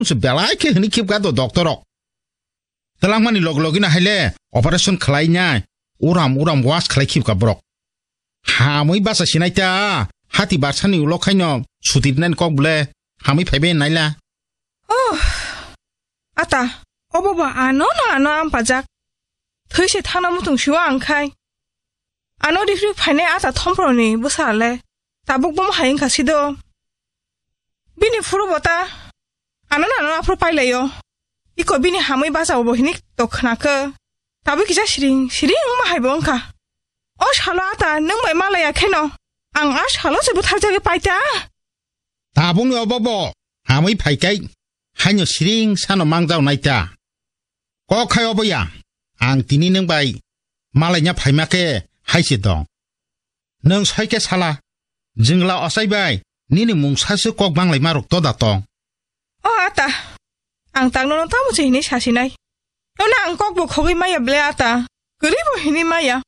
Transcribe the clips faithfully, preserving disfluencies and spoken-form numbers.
se belai khe hwnwi khibka do doctor rok. Twlangmani log logino haile operation khlainai, uram uram was khlai khibka borok. Hamwi bacha sinai ta, hati barsani ulo khaino sutirnani kok bole hamwi phaibai naila. Oh, ata, obo ba ano na ano ampajak. Thwi se thana mutung siwa ang khai. Ano rifri phainai ata thomproni bwsale tabuk bomo hai wngkha sido. Bini phuru bo ta ano na ano aphuru pailaio. Iko bini hamwi bacha bo hinik to khna khe. Tabuk kisa siring siring wngma hai bo wngkha. O salo ata nwng bai malaya kheno ang a salo se butharjagwi paita. Tabukni obo bo hamwi phaikai haino siring sano mangjao naita. Kok khai obo ya, ang tini nwng bai malaina phaima khe hai se dong. Nwng soi khe sala, jwngla ochai bai nini mungsa se kok banglaima rok toda tong. O ata, ang tang nono tamo se hini sasinai. Nono ang kok bo khogwi maya ble ata, kwrwi bo hini maya.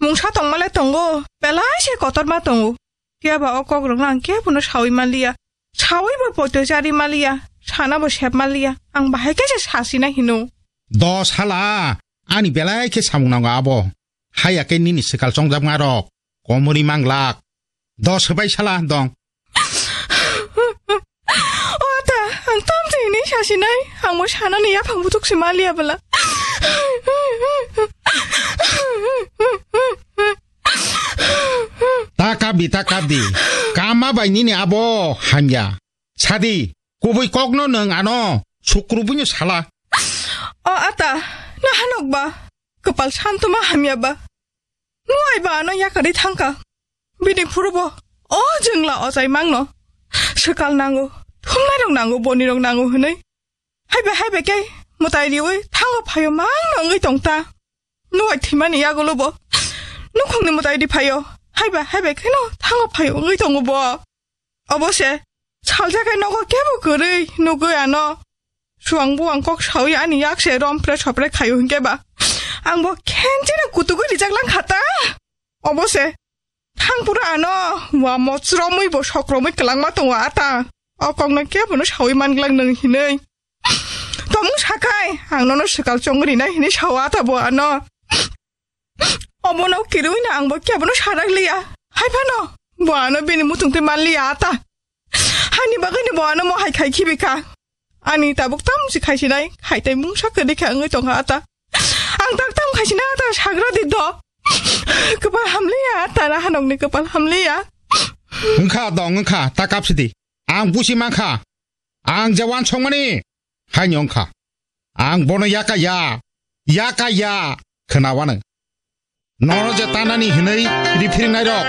Mungsa tongmale tongo, belai se kotorma tongo. Phiya ba o kok rokno ang kebono sawi manliya. Sawi bo poito chari manliya, sana bo sep manliya. Ang bahai khe se sasina hino. Dos hala, ani belai khe samung nango abo. Haya khe nini swkal chongjak ma rok, komori manglak. Dos hwbai sala dong. O ata, ang tamtwi hinwi sasinai, ang bo sanani yaphang butuk se manliya bwla. Ta kabdi, ta kabdi. Kama bai nini abo hamya. Sadi, kubui kokno nwng ano sukrubuino sala. O ata, nahanok ba, kwpal santuma hamya ba. Nwng ai ba ano yakarwi thangkha. Bini phurubo o jwngla ochai mangno. Swkal nango, thumnairok nango, bonirok nango hwnwi. Haibai haibai khe mwtai riwi thango phaio mangno wngwi tongta. Nwng ai thwimani yagulo bo nukhungni mwtai ri phaio. Haibai haibai kheno thango phaio wngwi tongo bo. Obo se, salsa khe nogo kebo kwrwi nugwi ano. Suang buang kok sawi ani yak se rompre sopre khaio hinkhe ba. Ang bo khencheno kutugwi rijak lang kha ta. Obo se, thang pura ano, wa mochromi bo sokromwi kwlangma tongo ata. O kokno kebono sawi manglak nwng hinwi. Tomung sakai, ang nono swkal chongwi rina hinwi sao ata bo ano. Obono kirui na ang bo kebono sarak liya. Hai phano, bo ano bini mutung twi man liya ata. Hani bagwi ni bo ano mo hai khai khibi kha. Ani tabuk tam si khai sinai, khai tai mungsa kwrwi kha wngwi tongkha ata. Ang tak tam khai sinai ata sagra di do. Kwpal hamliya, ata na hanok ni kwpal hamliya. Wngkha dong wngkha, ta kap sidi. Ang busi mankha. Ang je wansokmani. Haino wngkha. Ang bono yaka ya, yaka ya, khwna wano. Nono je tanani hinwi riphiringnai rok,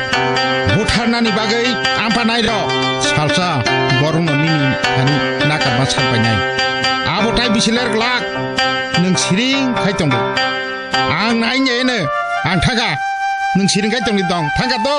butharnani bagwi amphanai rok, salsa borokno nini thani nakarma sakbainai. Abo tai bisi ler glak, nwng siring khai tongo. Ang nai neyeno, ang thangkha, nwng siring khai tongni dong, thangkha to.